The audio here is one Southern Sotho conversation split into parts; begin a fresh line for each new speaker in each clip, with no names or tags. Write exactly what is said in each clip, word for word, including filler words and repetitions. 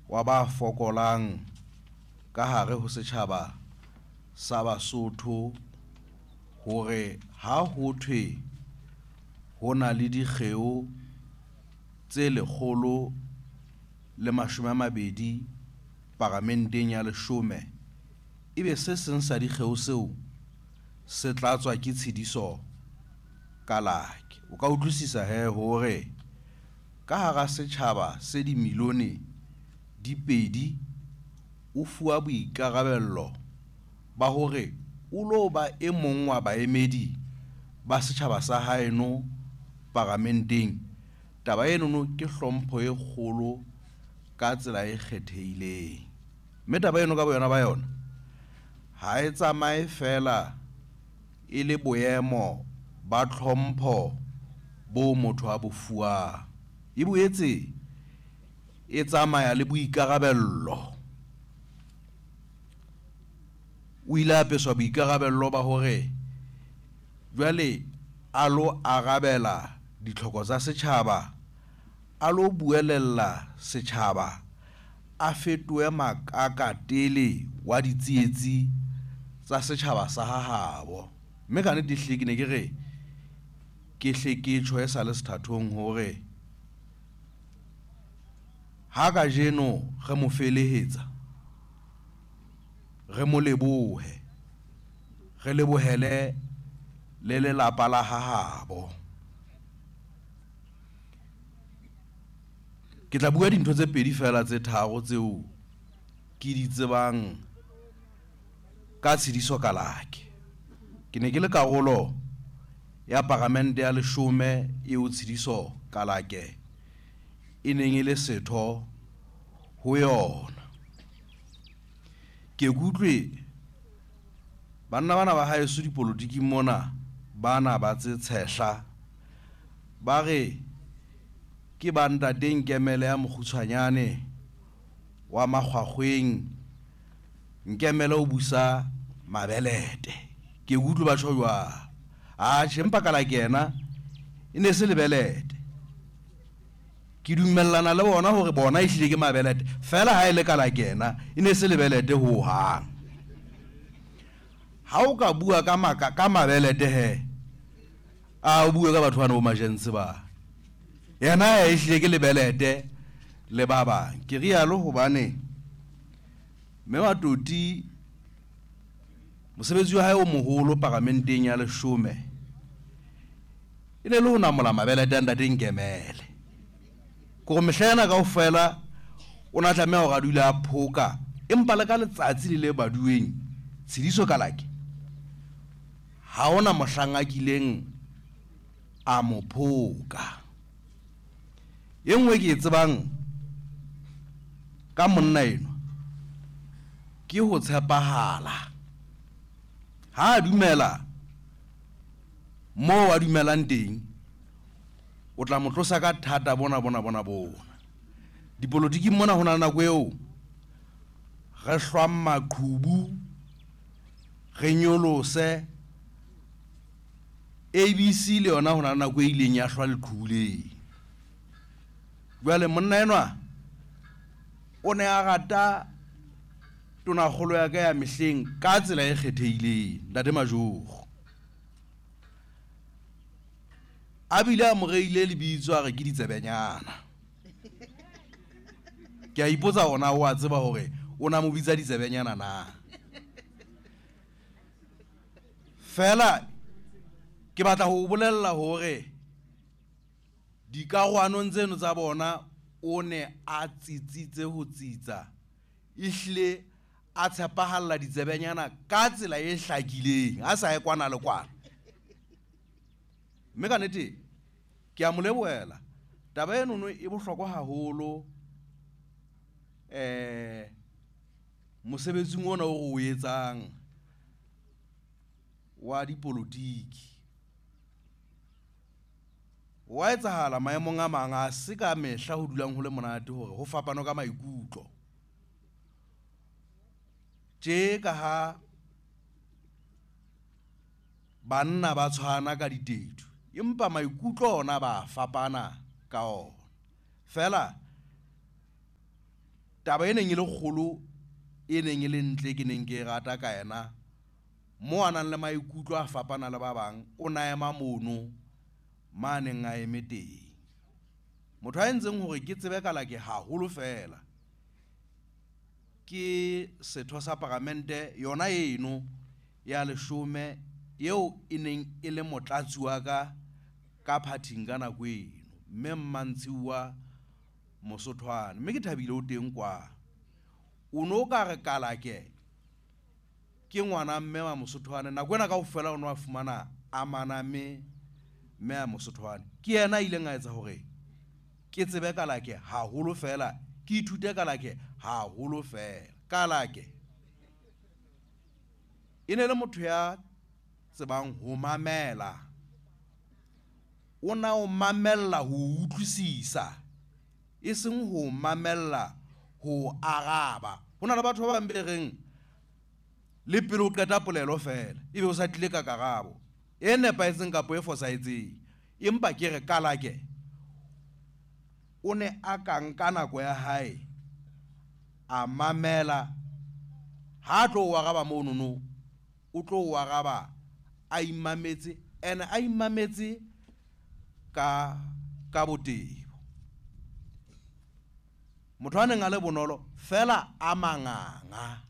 wa ba fokolang ka hare ho setjhaba sa Basotho hore ha ho thwe ho na le dikgeo tse lekgolo le mashome a mabedi paramenteng ya leshome, ebe se seng sa dikgeo seo se tlatswa ke Tshidiso Kalake. O ka utlwisisa he hore ka hara setjhaba se dimilione di pedi o fuwa boikarabello ba hore o lo ba e mong wa baemedi ba setjhaba sa haeno paramenteng. Taba enono ke hlompho e kgolo ka tsela e kgethehileng. Mme taba eno ka boyona ba yona ha e tsamaye fela e le boemo ba tlhompho bo motho a bo fuwang, e boetse e tsamaya le boikarabello. O ile a apeswa boikarabello ba hore jwale a lo arabela ditlhoko tsa setjhaba, a lo buelella setjhaba, a fetohe makakatele wa ditsietsi tsa setjhaba sa hahabo. Mme ka nnete ehlile ke ne ke re ke hle ke tjho e sa le sethathong hore ha kajeno re mo felehetsa, re mo lebohe, re lebohele le lelapa la hahabo. Ke tla bua dintho tse pedi fela tse tharo tseo ke di tsebang ka Tshidiso Kalake. Ke ne ke le karolo ya paramente ya leshome eo Tshidiso Kalake e neng e le setho ho yona. Ke kutlwe banna bana ba haeso dipolotiking mona bana ba tse tshehla ba re ke ba ntate Nkemele ya mokgutshwanyane wa makgwakgweng, Nkemele o busa mabelete. Ke utlwe ba tjho jwang. Atjhe, empa Kalake yena e ne se lebelete. Ke dumellana le bona hore bona ehlile ke mabelete, fela ha e le Kalake yena e ne se lebelete ho hang. Ha o ka bua ka maka ka mabelete he, a o bue ka batho bana bo majense ba. Yena ehlile ke lebelete le ba bang. Ke rialo hobane mme Matoti mosebetsi wa hae o moholo paramenteng ya leshome e ne le ho namola mabelete a ntate Nkemele. Kore mehla ena kaofela o na tlameha hore a dule a phoka, empa le ka letsatsi le le baduweng Tshidiso Kalake ha hona mohlang a kileng a mo phoka. E nngwe ke e tsebang ka monna enwa ke ho tshepahala. Ha a dumela moo a dumelang teng, o tla mo tlosa ka thata bona bona bona bona. Dipolotiking mona ho na le nako eo re hlwang maqhubu, re nyolose. A B C le yona ho na le nako e ileng ya hlwa leqhubu leng. Jwale monna enwa o ne a rata tonakgolo ya ka ya mehleng ka tsela e kgethehileng, ntate Majoro. A bile a mo reile lebitso a re ke ditsebenyana. Ke a ipotsa hore na o a tseba hore o na mo bitsa ditsebenyana na. Fela ke batla ho o bolella hore dikarohanong tseno tsa bona o ne a tsitsitse ho tsitsa, ehlile a tshepahalla ditsebenyana ka tsela e hlakileng, a sa ye kwana le kwana. Mme ka nnete ke a mo lebohela. Taba enono e bohlokwa haholo eh mosebetsing ona o re o etsang wa dipolotiki. Wa etsahala maemong a mang a se ka mehla ho dulang ho le monate hore ho fapano ka maikutlo. Tje ka ha banna ba tshwana ka ditedu, empa maikutlo ona ba fapana ka ona. Fela Taba e neng e le kgolo e neng e le ntle ke neng ke e rata ka yena, mo a nang le maikutlo a fapana le ba bang, o na ema mono ma neng a eme teng. Motho a entseng hore ke tsebe Kalake haholo fela ke setho sa paramente yona eno ya leshome eo e neng e le motlatsi wa ka ka phathing ka nako eno, mme Mmantshiwa Mosothwane, mme ke thabile o teng kwa. O no ka re Kalake ke ngwana mme wa Mosothwane, nako ena kaofela o no a fumana a maname mme a Mosothwane. Ke yena a ileng a etsa hore ke tsebe Kalake haholo fela, ke ithute Kalake haholo fela. Kalake e ne le motho ya tsebang ho mamela, o na o mamella ho utlwisisa, e seng ho mamella ho araba. Ho na le batho ba bang be reng le pele o qeta polelo fela ebe o sa tlile ka karabo e nepahetseng kapa e fosahetseng. Empa ke re Kalake o ne a ka nka nako ya hae a mamela, ha a tlo o araba monono o tlo o araba a imametse, ene a imametse ka ka botebo. Motho a neng a le bonolo fela a manganga,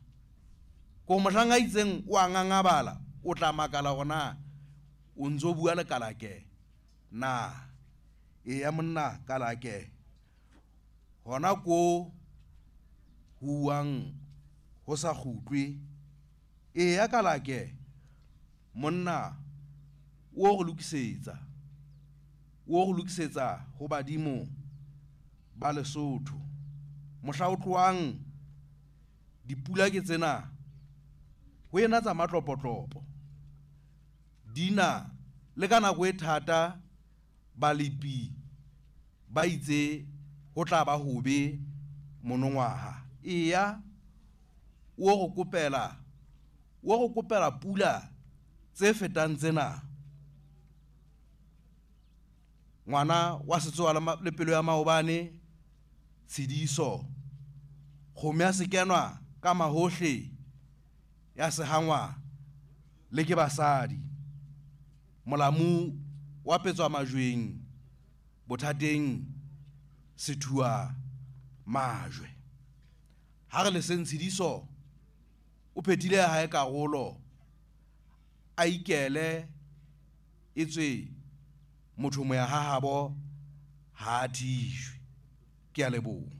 ko mohlang a itseng o a ngangabala, o tla makala hore na o ntso bua le Kalake na. Eya monna Kalake, hona ko huwang ho sa kgutlwe. Eya Kalake monna, o re lokisetsa, o re lokisetsa ho badimo ba Lesotho. Mohla o tlohang dipula ke tsena, ho ena tsa matlopotlopo dina le ka nako e thata balepi ba itse ho tla ba hobe monongwaha. Eya o re kopela, o re kopela pula tse fetang tsena. Ngwana wa setsoa le pelo ya maobane Tshidiso, kgomo ya sekenwa ka mahohle ya sehangwa le ke basadi, molamu wa petswa majweng bothateng sethua majwe. Ha re le seng Tshidiso o phethile ya hae karolo, a ikele etswe motho moya ha habo ha a thijwe. Ke a leboha.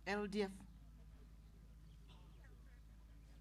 L D F.